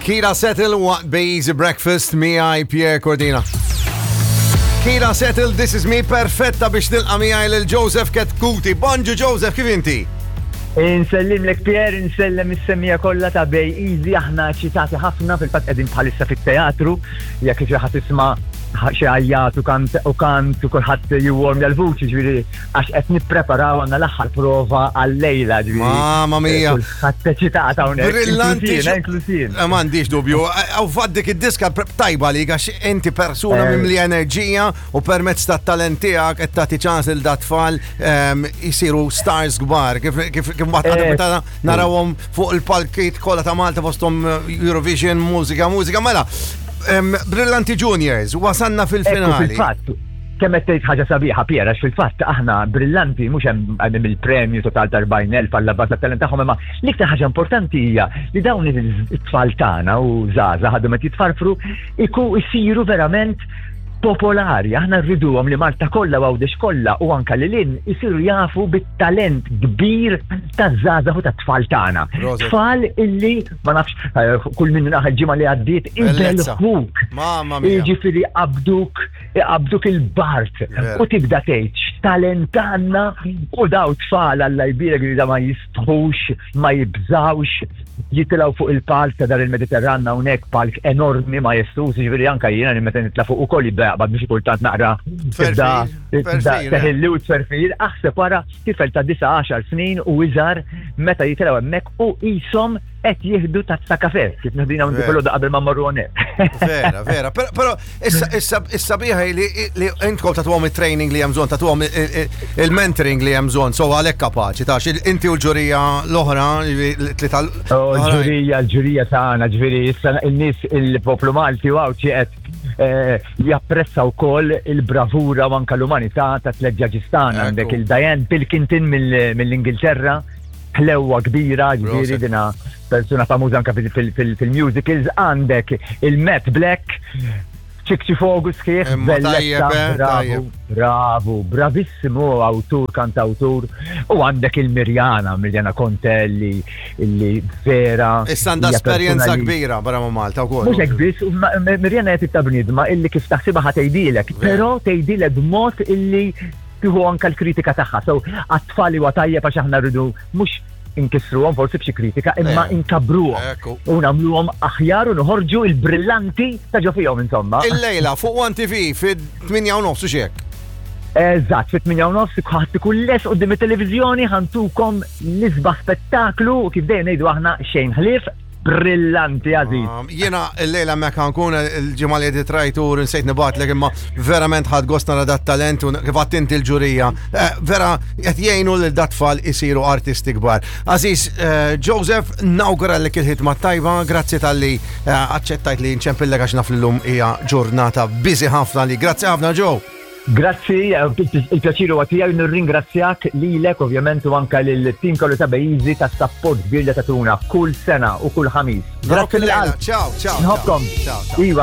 Kira Settle waqt Be Easy Breakfast miegħi Pierre Cordina. Kira Settle, This Is Me, perfetta biex nilqa' miegħi lil Joseph Ketkuti. Bonġu Joseph, kif inti? Insellimlek Pierre, insellem is-semmiegħa kollha ta' Bay Easy, aħna eċitati ħafna, fil-fatt qegħdin bħalissa fit-teatru, jekk xi ħadd tisma' xi għajjat u kant u kant u kulħadd jiwwarmja l-vuċi, ġifieri għax qed nippreparaw għandna l-aħħar prova għal-lejla, ġifieri. Mamma mia. Kulħadd eċitat hawnhekk. Brillanti. Inklusin. Eh, m'għandix dubju. Aw eh, faddik id-diska tajba li għax inti persuna eh. mimli enerġija u permezz tat-talent tiegħek qed tagħti ċans lil dat-tfal jisiru ehm, stars kbar. Kif kif kif meta narawhom fuq il-palkiet kollha ta' Malta fosthom Eurovision, mużika, mużika, mela. Ehm, Brillanti Juniors, wasanna fil-finali. Fil-fatt, kemm qed tgħid ħaġa sabiħa Pier, għax fil-fatt aħna brillanti mhux hemm hemm il-premju total ta' 40,000 għall baża tat-talent tagħhom imma l-iktar ħaġa importanti hija li dawn it-tfal tagħna u żgħażagħ għadhom qed jitfarfru iku jsiru verament popolari. Aħna rriduhom li Malta kollha u Għawdex kollha u anka lil hinn isiru jafu bit-talent kbir taż-żgħażagħ u tat-tfal tagħna. Tfal illi ma nafx eh, kull minn naħa l-ġimgħa li għaddiet ibelħuk. Mamma mia. Jiġifieri qabduk iqabduk il-bart u tibda tgħid x'talent għandna u daw tfal Alla jbierek li da ma jistħux, ma jibżgħux, jitilgħu fuq il-palk ta' dar il-Mediterran hawnhekk palk enormi majestuż, jiġifieri anke jiena li meta nitla' fuq ukoll jibda jaqbad biex kultant naqra tibda teħilli u tferfir, aħseb wara tifel ta' 9 snin u iżgħar meta jitilgħu hemmhekk u qishom qed jieħdu tazza kafe, kif nieħdu hawn filgħodu qabel ma mmorru hawnhekk. Vera, vera, però issa issa li li intkom tagħtuhom it-training li hemm bżonn, tagħtuhom il-mentoring li hemm bżonn, so għalhekk kapaċi tax inti u l-ġurija l-oħra, tlieta oh, L-ġurija, l-ġurija tagħna, ġifieri issa n-nies il-poplu Malti u Għawdxi qed eh, japprezza wkoll il-bravura u anke l-umanità ta' tliet ġaġistana għandek il-Diane Pilkington mill-Ingilterra ħlewwa kbira, ġifieri dina persuna famuża anke fil-musicals, għandek il-Matt Black, ċikċi fogu sħiħ, bellezza, eh, bravu, bravu, bravissimu awtur, kantawtur, u għandek il-Mirjana, Mirjana Conte li, li vera. Issa għandha esperjenza kbira barra ma' Malta wkoll. Mhux hekk biss, Mirjana qed ta' bniedma illi kif taħsibha ħa tgħidilek, però tgħidilek b'mod illi tieħu anke l-kritika tagħha. So għat-tfal huwa tajjeb għax aħna rridu mhux inkissruhom forsi b'xi kritika, imma eh. inkabruhom u nagħmluhom aħjar u noħorġu il-brillanti ta' ġo fihom insomma. Il-lejla fuq One TV fid-8 u nofs u xek. Eżatt, fit-8 u nofs ħadd ikun les qudiem it-televiżjoni ħantukom l-isbaħ spettaklu u kif dejjem ngħidu aħna xejn ħlief Brillanti, għażiż. Um, jiena l-lejla mekka nkun il-ġimgħa li qed trajtur nsejt nibatlek imma verament ħadd gost nara dat talent u kif għadt inti l-ġurija. Eh, vera qed jgħinu lil dat tfal isiru artisti kbar. Aziz eh, Joseph, nawguralek il-ħidma tajba, grazzi tal-li eh, aċċettajt li nċempillek għax naf l-lum hija ġurnata busy ħafna li. Grazzi ħafna Joe. Grazzi, il-pjaċir huwa tiegħi nirringrazzjak lilek ovvjament u anke lill-tim kollu ta' Bejjiżi tas-sapport kbir li tagħtuna kull sena u kull ħamis. Grazzi mill-qalb. Ciao, ciao. Nħobbkom. Ciao, ciao. Iva.